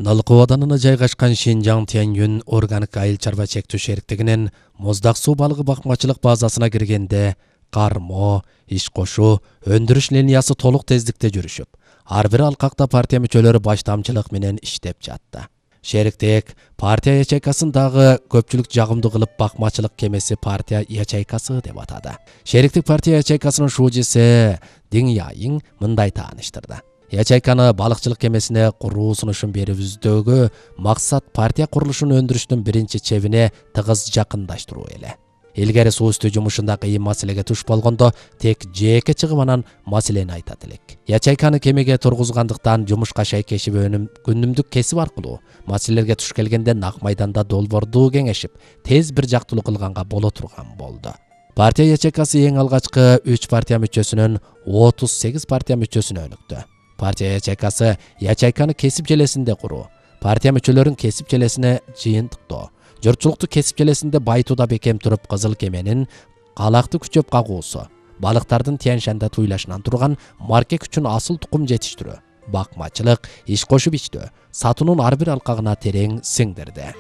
Налык абаданына жайгашкан Шинжаң Тяньюнь органик айыл чарба чектүү шериктигинин Моздак суу балыгы бакмачылык базасына киргенде кармо, иш кошуу, өндүрүш линиясы толук тездикте жүрүшүп, ар бир алкакта партия мүчөлөрү баштамчылык менен иштеп жатты. Шериктик партия ячейкасын дагы көпчүлүк жагымдуу кылып бакмачылык кемеси партия ячейкасы деп атады. Шериктик партия ячейкасынын шуужиси Диң Яйың мындай тааныштырды. Ячейканы балыкчылык кемесине куруу сунушун берүүбүздөгү максат партия курулушун өндүрүштүн биринчи чебине тыгыз жакындаштыруу эле. Илгери суу үстү жумушунда кыйын маселеге туш болгондо тек жеке чыгым анан маселени айтат элек. Ячейканы кемеге тургузгандыктан жумушка шайкешип күнүмдүк кесип аркылуу маселелерге туш келгенде нак майданда долбоорду кеңешип, тез бир жактылуу кылганга боло турган болду. Партия ячейкасы эң алгачкы 3 партия мүчөсүнөн 38 партия мүчөсүнө өнүктү. Партия ячейкасы ячейканы кесип желесинде куруу, партия мүчөлөрүн кесип желесине жыйынтыктоо, журтчулукту кесип желесинде байтууда бекем туруп кызыл кеменин калакты күчөп кагуусу, балыктардын Тянь-Шанда туйлашынан турган марке күчүн асыл тукум жетиштирүү, бакмачылык, иш кошуп ичтөө, сатуунун ар бир алкагына терең сиңдирди.